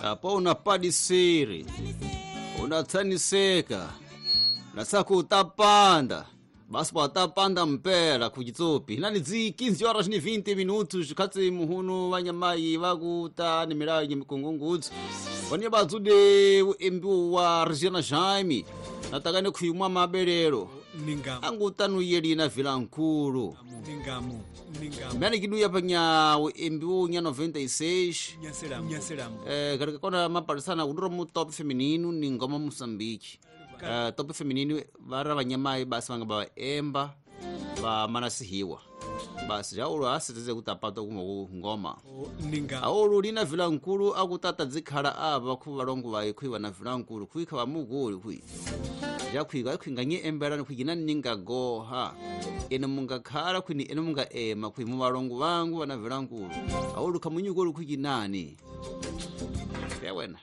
Apo unapadisiri unatsaniseka nasaku utapanda basi patapanda mpela kuchitsopi nani dzi 15 horas ni 20 minutos khatsi muhunu vanyamayi vakuta ni milayo mikungungudzi vane vadzude uembiwo wa Regina Jaime natakane khuyimwa mabelelo Ningamu. angutanuyelina vilankulu Ningamu. Ningamu. mmene kiduya panya uembiwo nya 96. Nyaselamu. Nyaselamu. Katika kona mapalisana kudura mu top feminino ni ngoma Moçambique. Top feminino vara vanyamai basi vanga vaemba va manasihiwa basi jaulo asiteze kuti apata kumwe ku ngoma. Ningamu. Aulu lina vilankulu akutata dzikhala ava khu valongo vayi khuiwa na vilankulu khuikha vamuguli khui jakhwika ikhwinganye emberani khwikina ningagoha ene mungakhala khwini ene mungaema khwi muvalongo vangu vana vilankulu aulu khamunyukulu khwikinani yawena.